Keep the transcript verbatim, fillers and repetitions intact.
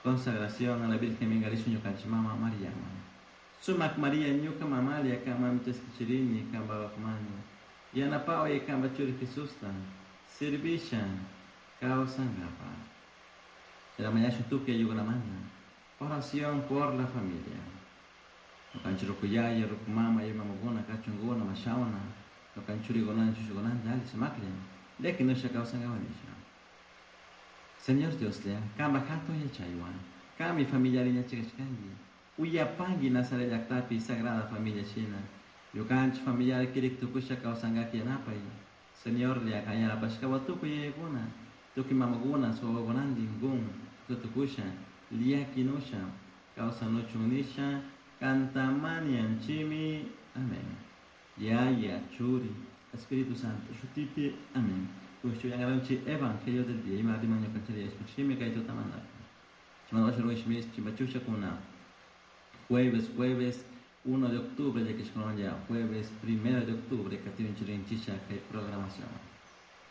Consagración a la Virgen minkarishun ñukanchik mama Mariaman. Sumak Maria ñuka mamalia kanmanmi chaskichirini kanpak mani. Yanapaway kanpak churi Jesusta servisha kawsankapa. Mañashun tukuy ayllunamanta. Oración por la familia. Ñukanchik ruku yaya, ruku mama, mamakuna, kachunkuna, mashawna, ñukanchik churikunan, chushukunanta, alli sumaklla, llakinusha kawsankapak nisha. Señor Dioslla, kanpak hatun yachaywan, kanmi familiari yachachishkanki, uyapanki Nazaret llaktapi Sagrada Familia shina, ñukanchik familiari kirik tukusha kawsankak yanapay, Señorlla, kan yanapashkawan tukuy yayakuna, tukuy mamakuna, wawakunantin kun tukusha, llakinusha, kawsanuchun nisha, kantamanianchimi. Amén. Yaya, Churi, Espíritu Santo, shutipi, amén. Kushchuyangaranchi Evangelio del día, ima riman ñukanchiri escuchimi kay tutamanta. Chimachusha kuna. Jueves, jueves uno de octubre, ya que es ya jueves primero de octubre, que tienen chirin chicha kay programación.